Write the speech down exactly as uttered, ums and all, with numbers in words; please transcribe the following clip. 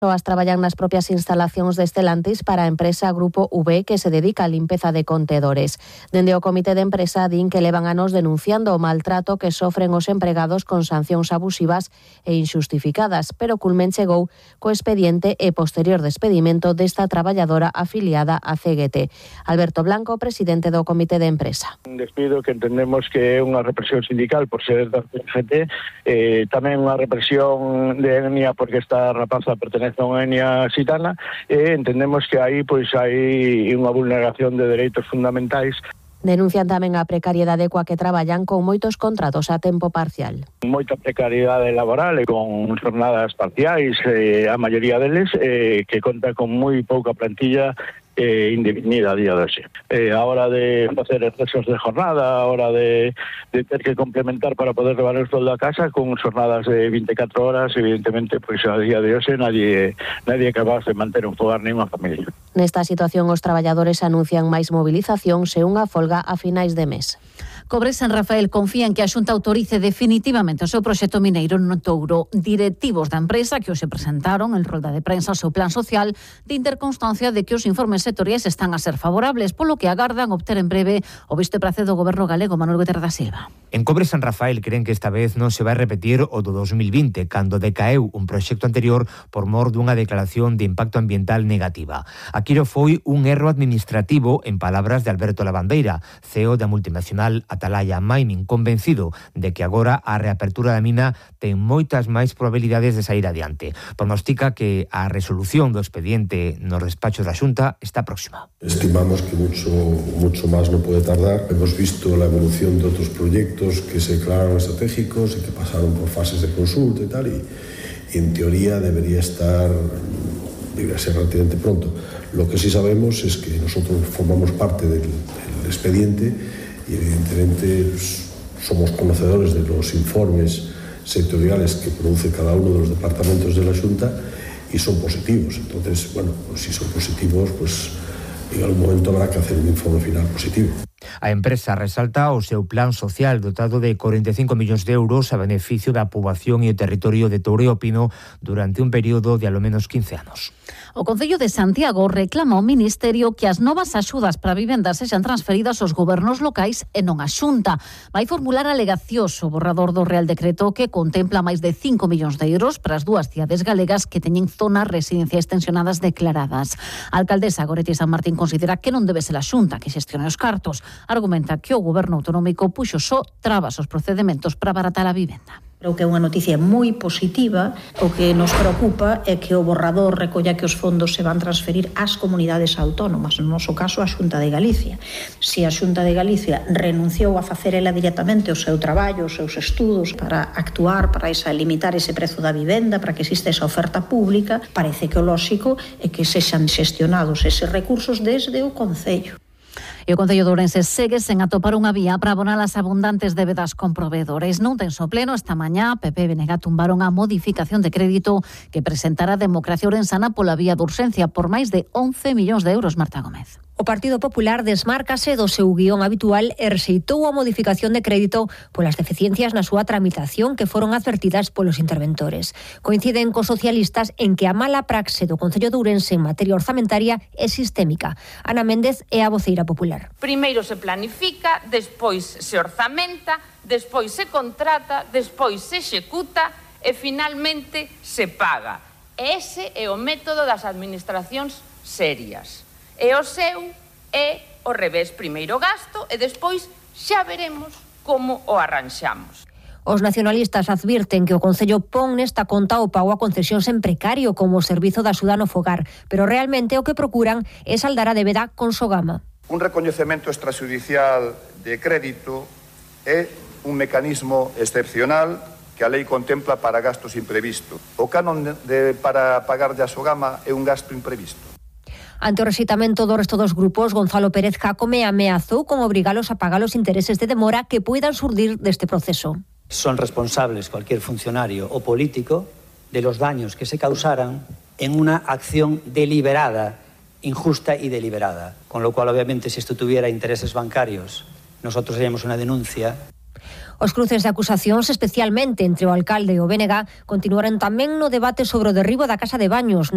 As traballan nas propias instalacións de Stellantis para a empresa Grupo V, que se dedica á limpeza de contedores. Dende o comité de empresa din que levan anos denunciando o maltrato que sofren os empregados con sancións abusivas e inxustificadas, pero culmen chegou co expediente e posterior despedimento desta traballadora afiliada a C G T. Alberto Blanco, presidente do comité de empresa. Un despido que entendemos que é unha represión sindical por ser da C G T, eh, tamén unha represión de etnia porque esta rapaza pertenece a unha etnia xitana, e entendemos que aí pois hai unha vulneración de dereitos fundamentais. Denuncian tamén a precariedade coa que traballan con moitos contratos a tempo parcial. Moita precariedade laboral e con jornadas parciais, eh, a maioría deles, eh, que conta con moi pouca plantilla eh, indefinida a día de hoxe. Eh, a hora de facer excesos de jornada, a hora de, de ter que complementar para poder levar o soldo a casa con jornadas de veinticuatro horas, evidentemente, pois a día de hoxe nadie, nadie é capaz de manter un fogar nin unha familia. Nesta situación, os traballadores anuncian máis movilizacións e unha folga a finais de mes. Cobres San Rafael confía en que a Xunta autorice definitivamente o seu proxecto mineiro no Touro. Directivos da empresa que hoxe presentaron en rolda de prensa o seu plan social de interconstancia de que os informes sectoriais están a ser favorables, polo que agardan obter en breve o visto e pracer do goberno galego Manuel Guterres da Silva. En Cobres San Rafael creen que esta vez non se vai repetir o do dos mil vinte, cando decaeu un proxecto anterior por mor dunha declaración de impacto ambiental negativa. Aquilo foi un erro administrativo, en palabras de Alberto Lavandeira, C E O da multinacional Atalaya Mining, convencido de que agora a reapertura da mina ten moitas máis probabilidades de sair adiante. Pronostica que a resolución do expediente no despacho da Xunta está próxima. Estimamos que mucho, mucho máis non pode tardar. Hemos visto la evolución de outros proyectos que se declararon estratégicos y que pasaron por fases de consulta y tal, y, y en teoría debería estar, debería ser relativamente pronto. Lo que sí sabemos es que nosotros formamos parte del, del expediente y evidentemente pues, somos conocedores de los informes sectoriales que produce cada uno de los departamentos de la Xunta y son positivos. Entonces, bueno, pues si son positivos, pues en algún momento habrá que hacer un informe final positivo. A empresa resalta o seu plan social dotado de corenta e cinco millóns de euros a beneficio da poboación e o territorio de Touro e o Pino durante un período de alo menos quince anos. O Concello de Santiago reclama ao Ministerio que as novas axudas para vivendas sexan transferidas aos gobernos locais e non á Xunta. Vai formular alegacións o borrador do Real Decreto que contempla máis de cinco millóns de euros para as dúas cidades galegas que teñen zonas residenciais tensionadas declaradas. A alcaldesa Goretti San Martín considera que non debe ser a Xunta que xestione os cartos. Argumenta que o goberno autonómico puxo só trabas aos procedementos para abaratar a vivenda. Creo que é unha noticia moi positiva. O que nos preocupa é que o borrador recolla que os fondos se van transferir ás comunidades autónomas, no noso caso a Xunta de Galicia. Se a Xunta de Galicia renunciou a facer ela directamente o seu traballo, os seus estudos para actuar, para esa, limitar ese prezo da vivenda, para que exista esa oferta pública, parece que o lóxico é que sexan xestionados eses recursos desde o Concello. E o Concello de Ourense segue sen atopar unha vía para abonar as abundantes débedas con provedores. Non tenso pleno, esta mañá P P e B N G tumbaron a modificación de crédito que presentara a Democracia Ourensana pola vía de urxencia por máis de once millóns de euros, Marta Gómez. O Partido Popular desmárcase do seu guión habitual e rexeitou a modificación de crédito polas deficiencias na súa tramitación que foron advertidas polos interventores. Coinciden cos socialistas en que a mala praxe do Concello de Ourense en materia orzamentaria é sistémica. Ana Méndez é a voceira popular. Primeiro se planifica, despois se orzamenta, despois se contrata, despois se executa e finalmente se paga. Ese é o método das administracións serias. E o seu é o revés, primeiro gasto e despois xa veremos como o arranxamos. Os nacionalistas advirten que o Concello pon nesta conta o pago a concesións en precario como o servizo da axuda no fogar, pero realmente o que procuran é saldar a débeda con Sogama. Un recoñecemento extrajudicial de crédito é un mecanismo excepcional que a lei contempla para gastos imprevistos. O canon de, para pagar de a Sogama é un gasto imprevisto. Ante o rexeitamento do resto dos grupos, Gonzalo Pérez Jácome ameazou con obrigalos a pagar os intereses de demora que puedan surdir deste proceso. Son responsables cualquier funcionario o político de los daños que se causaran en una acción deliberada, injusta y deliberada. Con lo cual, obviamente, si esto tuviera intereses bancarios, nosotros haríamos una denuncia. Os cruces de acusacións, especialmente entre o alcalde e o B N G, continuaron tamén no debate sobre o derribo da casa de baños